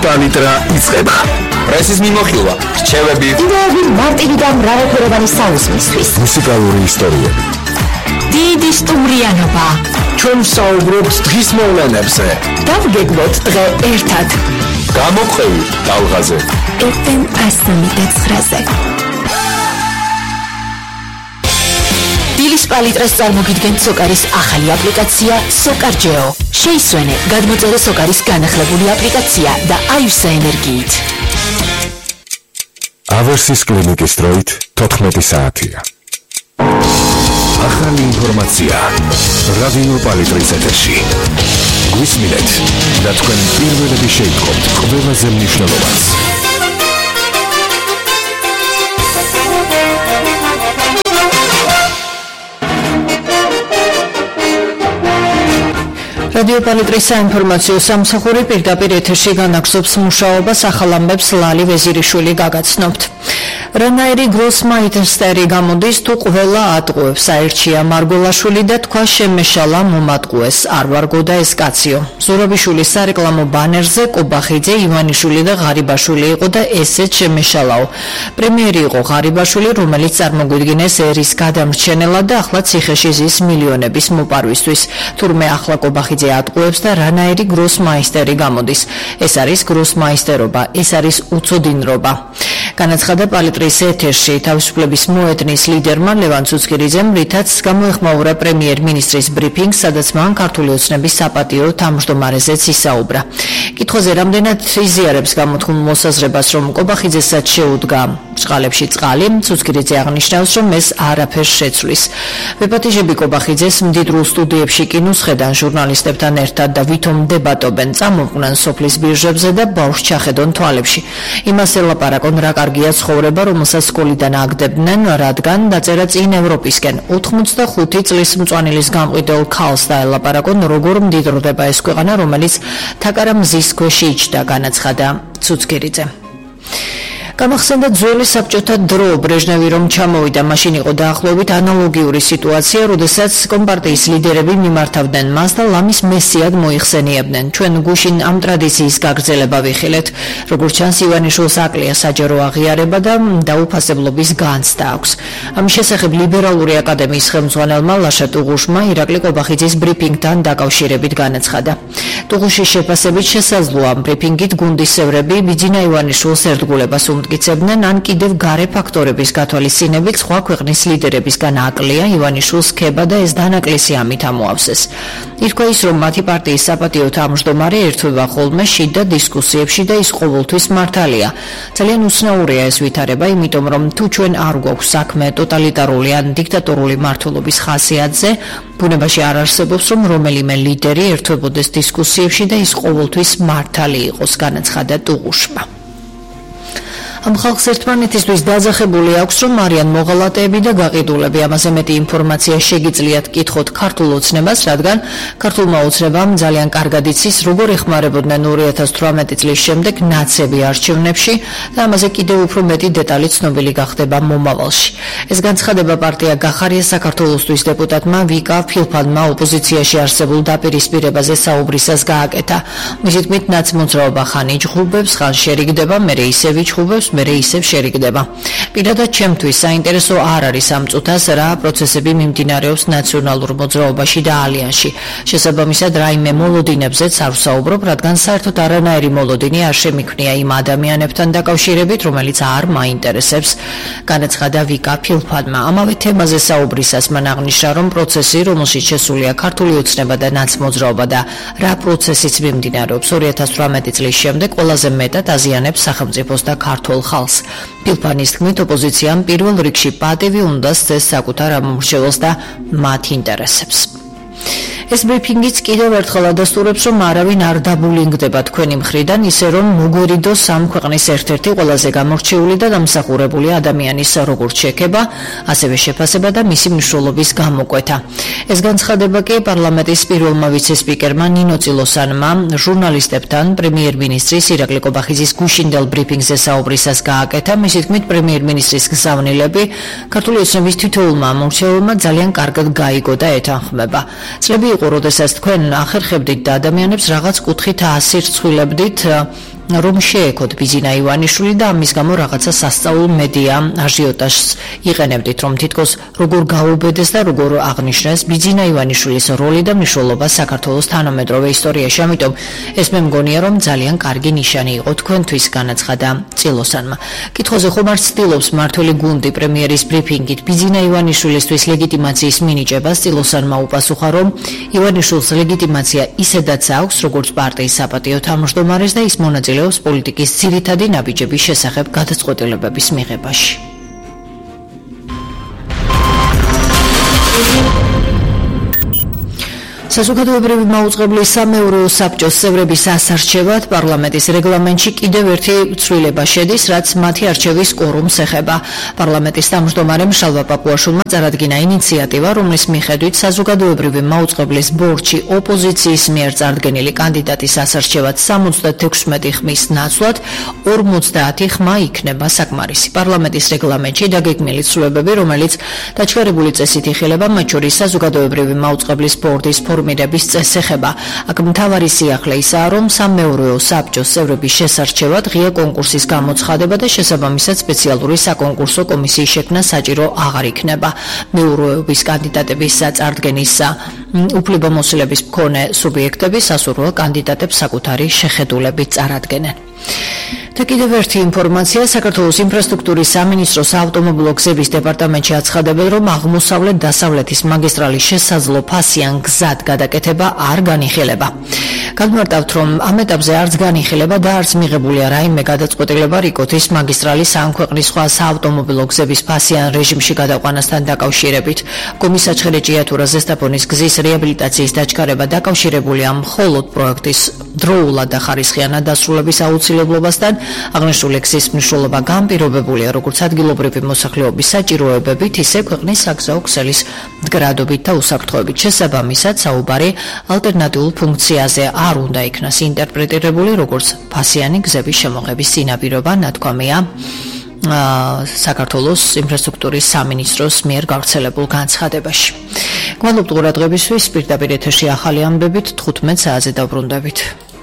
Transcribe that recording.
პალიტრა იწყება. პრესის მიმოხილვა, რჩევები, იდეები მარტივი და მრავალფეროვანი საუზმისთვის. მუსიკალური ისტორიები. დიდი სტუმრიანობა. ჩვენ საუბრობთ დღის მოვლენებზე. დავგეგმოთ დღე ერთად. გამოყვევი ტალღაზე. FM 109-ზე. დილის პალიტრას წარმოგიდგენთ სოკარის ახალი აპლიკაცია SOCARGEO. შეისვენე, გადმოწერე სოკარის განახლებული აპლიკაცია და აივსე ენერგიით. ავერსის კლინიკის დროით 14 საათია. ახალი ინფორმაცია რადიო პალიტრის ეთერში. გვისმინეთ და თქვენ პირველები შეიტყობთ ყველაზე მნიშვნელოვანს. რადიო პალიტრის საინფორმაციო სამსახური პირდაპირ ეთერში განაგზობს მუშაობას ახალ ამბებს ლალი ვეზირიშვილი გაგაცნობთ. რანაირი გროსმაისტერი გამოდის თუ ყველა ატყუებს აერჩია მარგოლაშვილი და თქვა შემეშალა მომატყუეს არ ვარგო და ეს კაციო. ზურაბიშვილის სარეკლამო ბანერზე კობახიძე, ივანიშვილი და ღარიბაშვილი იყო და ესეც შემეშალაო. პრემიერი იყო ღარიბაშვილი, რომელიც წარმოგვიდგინეს ერის გადამრჩენელად და ახლა ციხეში ზის მილიონების მოპარვისთვის. თურმე ახლა კობახიძე ატყუებს და რანაირი გროსმაისტერი გამოდის. ეს არის გროსმაისტერობა, ეს არის უცოდინრობა. განაცხადა პალიტრის ეთერში თავისუფლების მოედნის ლიდერმა ლევან ცუცქირიძემ, რითაც გამოეხმაურა პრემიერ-მინისტრის ბრიფინგს, სადაც მან ქართული ოცნების საპატიო თავმჯდომარეზეც ისაუბრა. კითხვაზე რამდენად იზიარებს გამოთქმულ მოსაზრებას, რომ კობახიძესაც შეუდგა ჭყალებში წყალი, ცუცქირიძე აღნიშნავს, რომ ეს არაფერს შეცვლის. ვეპატიჟები კობახიძეს მდიდრულ სტუდიებში კინოსხედან ჟურნალისტებთან ერთად და ვითომ დებატობენ, წამოყვნენ სოფლის ბირჟებზე და ბავშვს ჩახედონ თვალებში. იმას ელაპარაკონ, რა კარგია ცხოვრება, რომელსაც სკოლიდან აგდებდნენ, რადგან დაწერა წინ ევროპისკენ. 85 წლის მწვანილის გამყიდელ ქალს დაელაპარაკონ, როგორ მდიდრდება ეს ქვეყანა, რომელიც თაკარა მზის ქვეშ იჯდა, განაცხადა ცუცქირიძე. გამახსენდა ძველი საბჭოთა დრო, ბრეჟნევი რომ ჩამოვიდა, მაშინ იყო დაახლოებით ანალოგიური სიტუაცია, როდესაც კომპარტიის ლიდერები მიმართავდნენ მას და ლამის მესიად მოიხსენიებდნენ. ჩვენ გუშინ ამ ტრადიციის გაგრძელება ვიხილეთ. როგორც ჩანს, ივანიშვილს აკლია საჯარო აღიარება და დაუფასებლობის განცდა აქვს. ამის შესახებ ლიბერალური აკადემიის ხელმძღვანელმა ლაშა ტუღუშმა ირაკლი კობახიძის ბრიფინგთან დაკავშირებით განაცხადა. ტუღუშის შეფასებით შესაძლოა ამ ბრიფინგით გუნდის წევრები ბიძინა ივანიშვილს ერთგულებას მტკიცებდნენ, ან კიდევ გარე ფაქტორების გათვალისწინებით სხვა ქვეყნის ლიდერებისგან აკლია ივანიშვილს ქება და ეს დანაკლისი ამით ამოავსეს. ირქვა ის, რომ მათი პარტიის საპატიო თავმჯდომარე ერთვება ხოლმე შიდა დისკუსიებში და ის ყოველთვის მართალია. ძალიან უცნაურია ეს ვითარება, იმიტომ რომ თუ ჩვენ არ გვაქვს საქმე ტოტალიტარული ან დიქტატორული მმართველობის ხასიათზე, ბუნებაში არ არსებობს, რომ რომელიმე ლიდერი ერთვებოდეს დისკუსიებში და ის ყოველთვის მართალი იყოს, განაცხადა ტუღუშმა. ამ ხალხს ერთმანეთისთვის დაძახებული აქვს, რომ არიან მოღალატეები და გაყიდულები. ამაზე მეტი ინფორმაცია შეგიძლიათ კითხოთ ქართულ ოცნებას, რადგან ქართულმა ოცნებამ ძალიან კარგად იცის, როგორ ეხმარებოდნენ 2018 წლის შემდეგ ნაცები არჩევნებში და ამაზე კიდევ უფრო მეტი დეტალი ცნობილი გახდება მომავალში. ეს განცხადება პარტია გახარია საქართველოსთვის დეპუტატმა ვიკა ფილფანმა ოპოზიციაში არსებულ დაპირისპირებაზე საუბრისას გააკეთა. მისი თქმით, ნაცმოძრაობა ხან იჯღუბებს, ხან შერიგდება, მერე ისევ იჯღუბებს, მერე ისევ შერიგდება. პირადად ჩემთვის საინტერესო არ არის ამ წუთას რა პროცესები მიმდინარეობს ნაციონალურ მოძრაობაში და ალიანსში. შესაბამისად, რაიმე მოლოდინებზეც არ ვსაუბრობ, რადგან საერთოდ არანაირი მოლოდინი არ შემიქმნია იმ ადამიანებთან დაკავშირებით, რომელიც არ მაინტერესებს, განაცხადა ვიკა ფილფანმა. ამავე თემაზე საუბრისას მან აღნიშნა, რომ პროცესი, რომელშიც შესულია ქართული ოცნება და ნაცმოძრაობა და რა პროცესიც მიმდინარეობს 2018 წლის შემდეგ, ყველაზე მეტად აზიანებს სახელმწიფოს და ქართულ ხალხს. ფილფანის თქმით, ოპოზიციამ პირველ რიგში პატივი უნდა სცეს საკუთარ ამომრჩეველს და მათ ინტერესებს. ეს ბრიფინგიც კიდევ ერთხელ ადასტურებს, რომ არავინ არ დაბულინგდება თქვენი მხრიდან, ისე რომ მოგვერიდოს ამ ქვეყნის ერთ-ერთი ყველაზე გამორჩეული და დამსახურებული ადამიანის როგორც შექება, ასევე შეფასება და მისი მნიშვნელობის გამოკვეთა. ეს განცხადება კი პარლამენტის პირველმა ვიცე-სპიკერმა ნინო წილოსანმა ჟურნალისტებთან პრემიერ-მინისტრის ირაკლი კობახიძის გუშინდელ ბრიფინგზე საუბრისას გააკეთა. მისი თქმით, პრემიერ-მინისტრის გზავნილები ქართული ოცნების თითოეულმა ამორჩეულმა ძალიან კარგად გაიგო და ეთანხმება. წლები იყო, როდესაც თქვენ ახერხებდით და ადამიანებს რაღაც კუთხით აასირცხვილებდით რომ შეექოთ ბიზინა ივანიშვილი და ამის გამო რაღაცა სასწაულ მედია აჟიოტაჟს იყენებდით, რომ თითქოს როგორ გაუბედეს და როგორ აღნიშნეს ბიზინა ივანიშვილის როლი და მნიშვნელობა საქართველოს თანამედროვე ისტორიაში. ამიტომ ეს მე მგონია, რომ ძალიან კარგი ნიშანი იყო თქვენთვის, განაცხადა წილოსანმა. კითხვაზე ხომ არ ცდილობს მმართველი გუნდი პრემიერის ბრიფინგით ბიზინა ივანიშვილისთვის ლეგიტიმაციის მინიჭებას? წილოსანმა უპასუხა, რომ ივანიშვილს ლეგიტიმაცია ისედაც აქვს, როგორც პარტიის საპატიო თავმჯდომარეს და ის მონაწილეობს პოლიტიკის ძირითადი ნაბიჯების შესახებ გადაწყვეტილებების მიღებაში. საზოგადოებრივი მაუწყებლის სამეურვეო საბჭოს წევრების ასარჩევად პარლამენტის რეგლამენტში კიდევ ერთი ცვლილება შედის, რაც მათი არჩევის კვორუმს ეხება. პარლამენტის თავმჯდომარემ შალვა პაპუაშვილმა წარადგინა ინიციატივა, რომლის მიხედვით საზოგადოებრივი მაუწყებლის ბორდში ოპოზიციის მიერ წარდგენილი კანდიდატის ასარჩევად 76 ხმის ნაცვლად 50 ხმა იქნება საკმარისი. პარლამენტის რეგლამენტში დაგეგმილი ცვლილებები, რომელიც დაჩქარებული წესით იხილება, მათ შორის საზოგადოებრივი მაუწყებლის ბორდის ფორმირების წესს ეხება. აქ მთავარი სიახლე ისაა, რომ სამეურვეო საბჭოს წევრების შესარჩევად ღია კონკურსის გამოცხადება და შესაბამისად სპეციალური საკონკურსო კომისიის შექმნა საჭირო აღარ იქნება. მეურვეობის კანდიდატების წარდგენის უფლებამოსილების მქონე სუბიექტები სასურველ კანდიდატებს საკუთარი შეხედულებით წარადგენენ. და კიდევ ერთი ინფორმაცია, საქართველოს ინფრასტრუქტურის სამინისტროს ავტომობილო გზების დეპარტამენტში აცხადებენ, რომ აღმოსავლეთ-დასავლეთის მაგისტრალის შესაძლო ფასიან გზად გადაკეთება არ განიხილება. განმარტავთ, რომ ამ ეტაპზე არც განიხილება და არც მიღებულია რაიმე გადაწყვეტილება რიკოთის მაგისტრალის ან ქვეყნის სხვა საავტომობილო გზების ფასიან რეჟიმში გადაყვანასთან დაკავშირებით. კომისაჩხერე ჭიათურა ზესტაფონის გზის რეაბილიტაციის დაჩქარება დაკავშირებულია მხოლოდ პროექტის დროულად და ხარისხიანად დასრულების აუცილებლობასთან. აღნიშნული გზის მნიშვნელობა განპირობებულია როგორც ადგილობრივი მოსახლეობის საჭიროებებით, ისე ქვეყნის საგზაო ქსელის მდგრადობით და უსაფრთხოებით. შესაბამისად, საუბარი ალტერნატიულ ფუნქციაზე არ უნდა იქნას ინტერპრეტირებული როგორც ფასიანი გზების შემოღების წინაპირობა, ნათქვამია საქართველოს ინფრასტრუქტურის სამინისტროს მიერ გავრცელებულ განცხადებაში. გმადლობთ ყურადღებისთვის, პირდაპირ ეთერში ახალი ამბებით 15 საათზე დავბრუნდებით.